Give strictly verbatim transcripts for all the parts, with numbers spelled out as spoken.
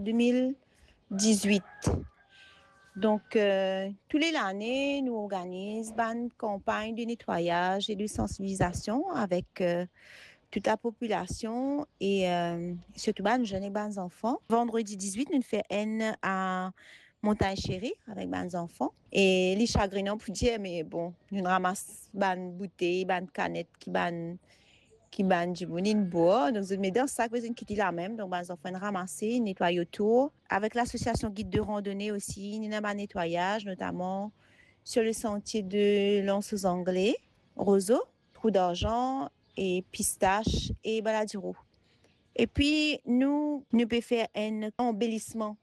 de mil dizwit. Donk, euh, tou le lane, nou organiz bann kanpagn de netwayaz e de sansibilizasion avek, euh, tout lapopilasion e, euh, sirtou bann zenn e bann zanfan. Vandredi dizwit, nou fer enn a Montagn Shere avek bann zanfan. E li sagrinan pou dir, me bon, nou ramas bann boutey, bann kanet ki bann, ki bann dimoun inn bwar. Donk, zot met dan sak, zot inn kit li lamem. Donk, bann zanfan inn ramase, inn netway otour. Avek lasosiasion Guide de Randonnée osi, nou ena bann netwayaz, notaman sur le sentier de l'Anse aux Anglais, Roseau, Trou d'Argent e Pistache e Baladiro. Epi nou, nou pe fer enn anbelisman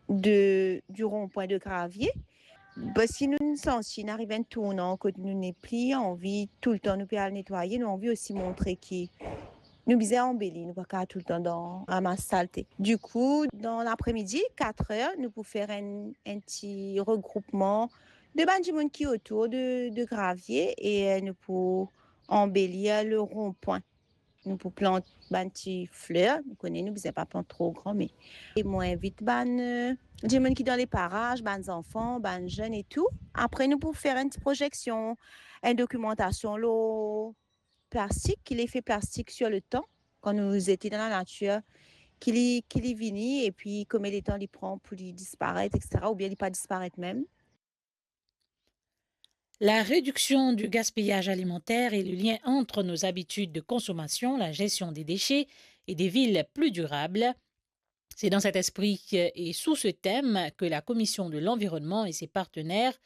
de, du rond-point de Gravier. Parski nou santi nou ariv enn tournan kot nou nepli anvi toultan nou pe al netwaye, nou anvi osi montre ki nou bizin anbeli, nou pa kapav toultan dan ramas salte. Dikou, dan lapremidi, kat er, nou pou fer enn, enn ti regroupman de bann dimoun ki otour de, de Gravier e, euh, nou pou anbelir le rond-point. Nou pou plant bann ti fler, nou kone nou bizin pa plant tro gran, me, e mo invit bann, euh, dimoun ki dan le paraz, bann zanfan, bann zenn e tou. Apre, nou pou fer enn ti prozeksion, enn dokimantasion lor plastik, ki lefe plastik sur le tan, kan nou zete dan lanatir, ki li, ki li vini, epi konbien letan li pran pou li disparet, et cetera, oubien li pa disparet mem. La réduction du gaspillage alimentaire et le lien entre nos habitudes de consommation, la gestion des déchets et des villes plus durables. C'est dans cet esprit que, et sous ce thème que la Commission de l'Environnement et ses partenaires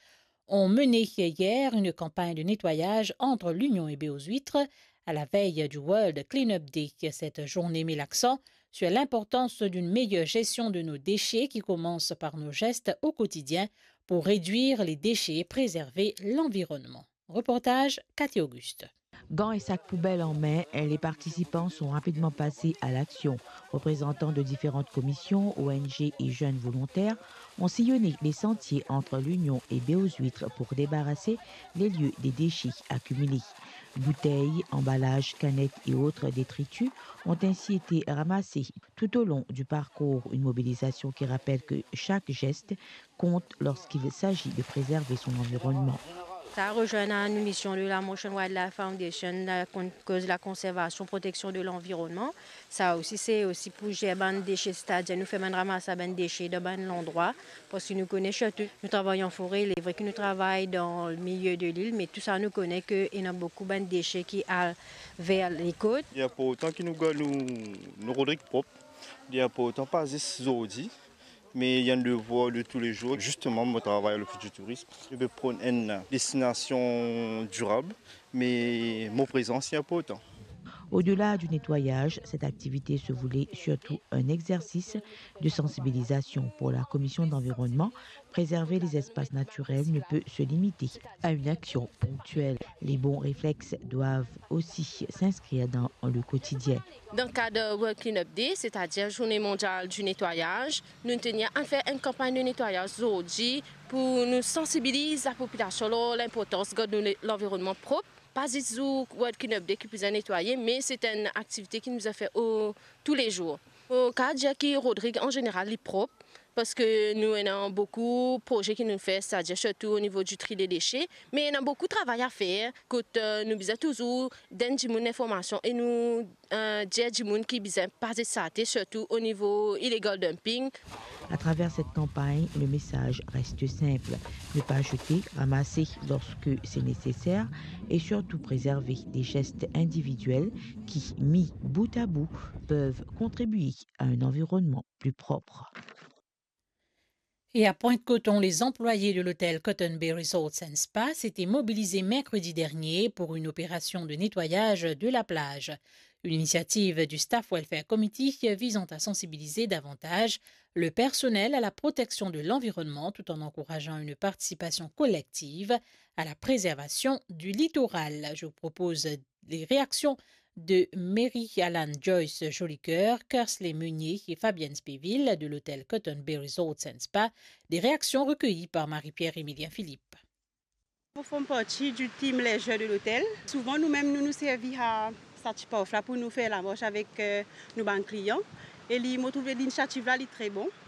ont mené hier une campagne de nettoyage entre L'Union et Baie aux Huîtres à la veille du World Cleanup Day. Cette journée met l'accent sur l'importance d'une meilleure gestion de nos déchets qui commence par nos gestes au quotidien pour réduire les déchets et préserver l'environnement. Reportage Cathy Auguste. Gants et sacs poubelles en main, les participants sont rapidement passés à l'action. Représentants de différentes commissions, O N G et jeunes volontaires ont sillonné les sentiers entre L'Union et Baie aux Huîtres pour débarrasser les lieux des déchets accumulés. Bouteilles, emballages, canettes et autres détritus ont ainsi été ramassés tout au long du parcours. Une mobilisation qui rappelle que chaque geste compte lorsqu'il s'agit de préserver son environnement. Sa rezwenn a nou mision de la Motion Wildlife Foundation, la kon-, koz lakonservasion, proteksion de lanvironnman. Sa osi, se osi pou zer bann dese, setadir nou fer bann ramasa bann dese dan bann landrwa, parski nou kone sirtou nou travay an fore, li vre ki nou travay dan limilie de lil, me tou sa nou kone ke ena boukou bann dese ki al ver lekot. Li inportan ki nou gard nou, nou Rodrig prop. Li inportan pa zis zordi, me li enn devwar de toulezour. Zisteman, mo travay a l'Office du Tourisme. Nou pe pran enn destinasion dirab, me mo prezans li inportan. Au-delà du nettoyage, cette activité se voulait surtout un exercice de sensibilisation pour la Commission d'environnement. Préserver les espaces naturels ne peut se limiter à une action ponctuelle. Les bons réflexes doivent aussi s'inscrire dans le quotidien. Dan kad World Cleanup Day, setadir Zourne Mondial di Netwayaz, nou tenir a fer enn kanpagn de netwayaz zordi pou nou sansibiliz lapopilasion lor linportans gard nou le-, lanvironnman prop. Pa zis zour World Cleanup Day ki pou bizin netwaye, me se enn aktivite ki nou bizin fer o, toulezour. Mo kapav dir ki Rodrig an zeneral li prop, parski nou ena boukou proze ki nou fer, setadir sirtou o nivo di tri de dese, me ena boukou travay a fer, kot, eh, nou bizin touzour donn dimoun linformasion e nou, eh, dir dimoun ki bizin pa zet sarte, sirtou o nivo illegal dumping. À travers cette campagne, le message reste simple. Ne pas jeter, ramasser lorsque c'est nécessaire et surtout préserver des gestes individuels qui, mis bout à bout, peuvent contribuer à un environnement plus propre. Et à Pointe-Coton, les employés de l'hôtel Cotton Bay Resorts and Spa s'étaient mobilisés mercredi dernier pour une opération de nettoyage de la plage. Une initiative du Staff Welfare Committee visant à sensibiliser davantage le personnel à la protection de l'environnement tout en encourageant une participation collective à la préservation du littoral. Je vous propose les réactions de Mary Alan Joyce Jolicoeur, Kersley Meunier et Fabienne Spéville de l'hôtel Cotton Bay Resorts and Spa, des réactions recueillies par Marie-Pierre Emilien Philippe. Mo form parti di team leisure de lotel. Souvan, nou mem, nou, nou servi a sa ti parf la pou nou fer lamars avek, eh, nou bann klian. E li, mo trouve linisiativ la, li tre bon.